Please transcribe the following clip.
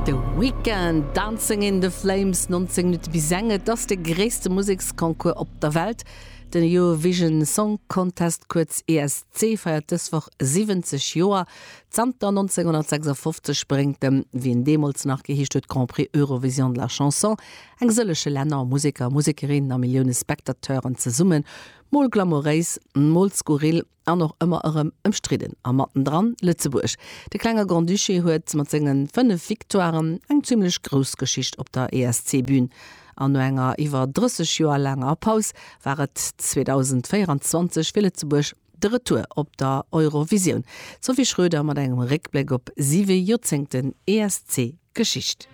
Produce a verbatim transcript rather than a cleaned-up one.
The Weeknd, Dancing in the Flames, nonzéng Minutte bis eng. Et ass de gréisste Museksconcours op der Welt. Den Eurovision Song Contest, kuerz E S C, feiert dës Woch siwwenzeg Joer. Zanter nonzénghonnertsechsafofzeg bréngt de, wéi en deemools nach geheescht huet, Grand Prix Eurovision de la Chanson eng sëllege Länner, Museker, Musekerinnen a Millioune Spectateuren zesummen. Mol glamouréis, mol skurril an och ëmmer erëm ëmstridden. A mattendran Lëtzebuerg. De klenge Grand-Duché huet mat senge fënnef Victoiren eng zimmlech grouss Geschicht op der E S C-Bün. An no enger iwwer drësseg Joer laanger Paus war et zweedausendvéieranzwanzeg fir Lëtzebuerg de Retour op der Eurovisioun. D'Sophie Schröder mat engem Réckbléck op siwe Joerzéngten E S C-Geschicht.